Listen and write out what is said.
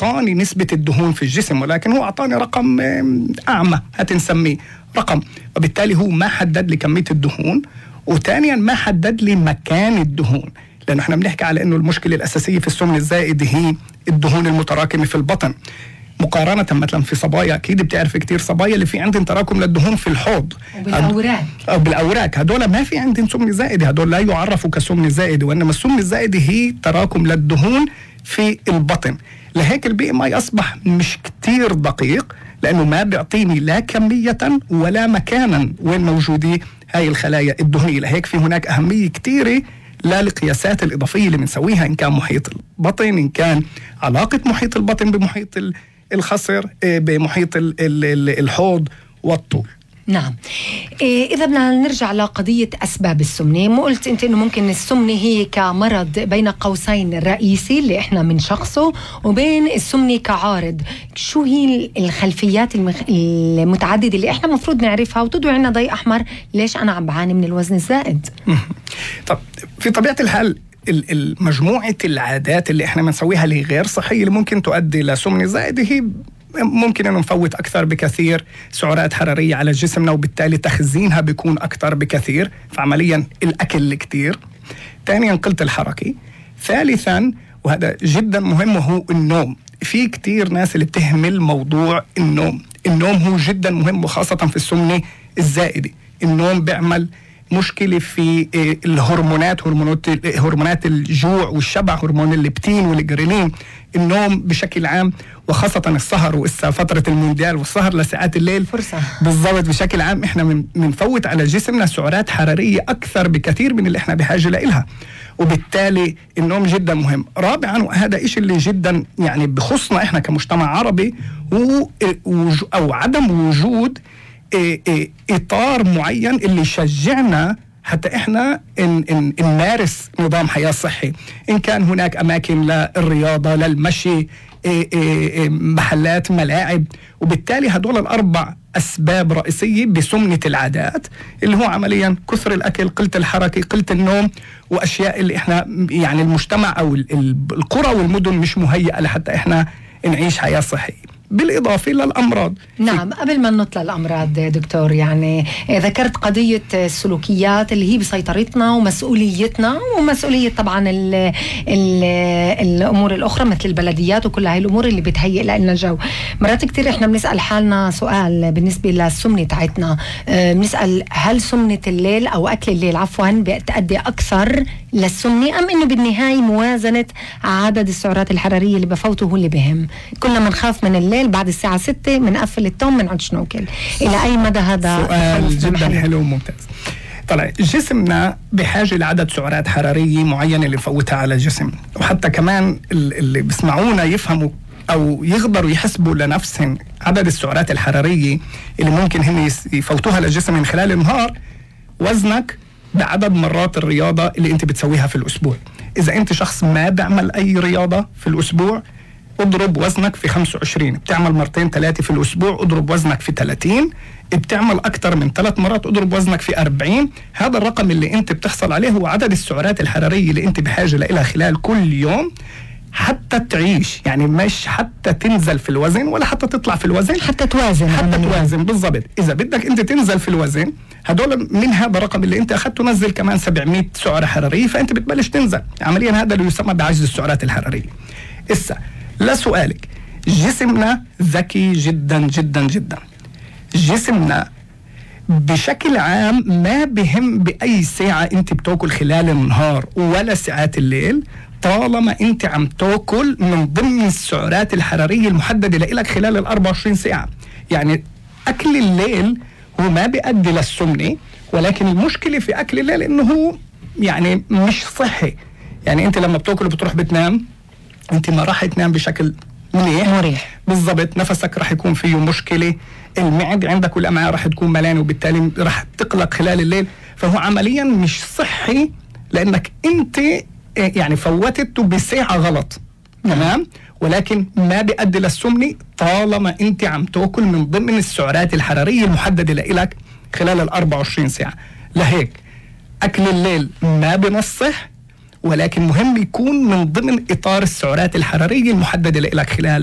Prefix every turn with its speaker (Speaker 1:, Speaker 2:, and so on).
Speaker 1: أعطاني نسبة الدهون في الجسم، ولكن هو أعطاني رقم أعمى هتنسميه رقم، وبالتالي هو ما حدد لي كمية الدهون، وثانيا ما حدد لي مكان الدهون. لأنه احنا بنحكي على أنه المشكلة الأساسية في السمن الزائد هي الدهون المتراكمة في البطن، مقارنة مثلا في صبايا، أكيد بتعرف كتير صبايا اللي في عندهم تراكم للدهون في الحوض أو بالأوراق، هدول ما في عندهم سمنة زائدة، هدول لا يعرفوا كسمنة زائدة، وإنما السمنة الزائدة هي تراكم للدهون في البطن. لهيك البي ام اي أصبح مش كتير دقيق، لأنه ما بيعطيني لا كمية ولا مكانا وين موجودة هاي الخلايا الدهنية. لهيك في هناك أهمية كتيرة للقياسات الإضافية اللي بنسويها، إن كان محيط البطن، إن كان علاقة محيط البطن بمحيط الخصر، بمحيط الحوض والطول.
Speaker 2: نعم. إذا بدنا نرجع لقضية أسباب السمنة، ما قلت أنت إنه ممكن السمنة هي كمرض بين قوسين الرئيسي اللي إحنا من شخصه، وبين السمنة كعارض. شو هي الخلفيات المتعددة اللي إحنا مفروض نعرفها وتضوي عنا ضي أحمر ليش أنا عم بعاني من الوزن الزائد؟
Speaker 1: طب في طبيعة الحال مجموعة العادات اللي إحنا بنسويها اللي غير صحية اللي ممكن تؤدي لسمنة زائدة، هي ممكن أن نفوت أكثر بكثير سعرات حرارية على جسمنا، وبالتالي تخزينها بيكون أكثر بكثير، فعمليا الأكل كتير. ثانيا قلة الحركة. ثالثا وهذا جدا مهم وهو النوم. في كتير ناس اللي بتهمل موضوع النوم. النوم هو جدا مهم، وخاصة في السمنة الزائدة. النوم بيعمل مشكلة في هرمونات الجوع والشبع، هرمون الليبتين والجريلين. النوم بشكل عام، وخاصة السهر، وإسا فترة المونديال والسهر لساعات الليل
Speaker 2: فرصة
Speaker 1: بالضبط، بشكل عام إحنا بنفوت على جسمنا سعرات حرارية أكثر بكثير من اللي إحنا بحاجة لإلها، وبالتالي النوم جدا مهم. رابعا وهذا إشي اللي جدا يعني بخصنا إحنا كمجتمع عربي، أو عدم وجود إطار معين اللي يشجعنا حتى إحنا نمارس نظام حياة صحي. إن كان هناك أماكن للرياضة، للمشي، محلات، ملاعب. وبالتالي هدول الأربع أسباب رئيسية بسمنة العادات، اللي هو عمليا كثر الأكل، قلة الحركة، قلة النوم، وأشياء اللي إحنا يعني المجتمع أو القرى والمدن مش مهيئة لحتى إحنا نعيش حياة صحية. بالإضافة للأمراض.
Speaker 2: نعم. قبل ما نطلع الأمراض دكتور، يعني ذكرت قضية السلوكيات اللي هي بسيطرتنا ومسؤوليتنا، ومسؤولية طبعا الأمور الأخرى مثل البلديات وكل هاي الأمور اللي بتهيئ لنا جو. مرات كتير إحنا بنسأل حالنا سؤال بالنسبة للسمنة تاعتنا، بنسأل هل سمنة الليل أو أكل الليل عفوا بتأدي أكثر للسمنة، أم إنه بالنهاية موازنة عدد السعرات الحرارية اللي بفوته هو اللي بهم؟ كلنا منخاف من الليل بعد الساعة 6 منقفل التوم منعد ناكل. إلى أي مدى هذا
Speaker 1: سؤال جدا حلو وممتاز. طلع جسمنا بحاجة لعدد سعرات حرارية معينة اللي نفوتها على الجسم، وحتى كمان اللي بيسمعونا يفهموا أو يقدروا يحسبوا لنفسهم عدد السعرات الحرارية اللي ممكن هم يفوتوها للجسم من خلال النهار، وزنك بعدد مرات الرياضة اللي انت بتسويها في الأسبوع. إذا انت شخص ما بعمل أي رياضة في الأسبوع، اضرب وزنك في 25. بتعمل مرتين 3 في الأسبوع، اضرب وزنك في 30. بتعمل أكتر من 3 مرات، اضرب وزنك في 40. هذا الرقم اللي انت بتحصل عليه هو عدد السعرات الحرارية اللي انت بحاجة لها خلال كل يوم حتى تعيش، يعني مش حتى تنزل في الوزن ولا حتى تطلع في الوزن،
Speaker 2: حتى توازن
Speaker 1: بالضبط. إذا بدك انت تنزل في الوزن، هدول من هذا الرقم اللي انت أخذته نزل كمان 700 سعرة حرارية، فانت بتبلش تنزل. عمليا هذا اللي يسمى بعجز السعرات الحرارية. إسا لسؤالك، جسمنا ذكي جدا جدا جدا. جسمنا بشكل عام ما بهم بأي ساعة انت بتاكل خلال النهار ولا ساعات الليل، طالما انت عم تاكل من ضمن السعرات الحرارية المحددة لك خلال 24 ساعة. يعني أكل الليل هو ما بيؤدي للسمنة، ولكن المشكلة في أكل الليل إنه هو يعني مش صحي. يعني انت لما بتاكل وبتروح بتنام، انت ما راح تنام بشكل مريح. بالضبط، نفسك راح يكون فيه مشكلة، المعدة عندك والأمعاء راح تكون ملانة، وبالتالي راح تقلق خلال الليل. فهو عمليا مش صحي، لأنك انت يعني فوتته بساعة غلط. تمام. ولكن ما بيؤدي للسمنة طالما انت عم تاكل من ضمن السعرات الحرارية المحددة لك خلال 24 ساعة. لهيك أكل الليل ما بنصح، ولكن مهم يكون من ضمن إطار السعرات الحرارية المحددة لك خلال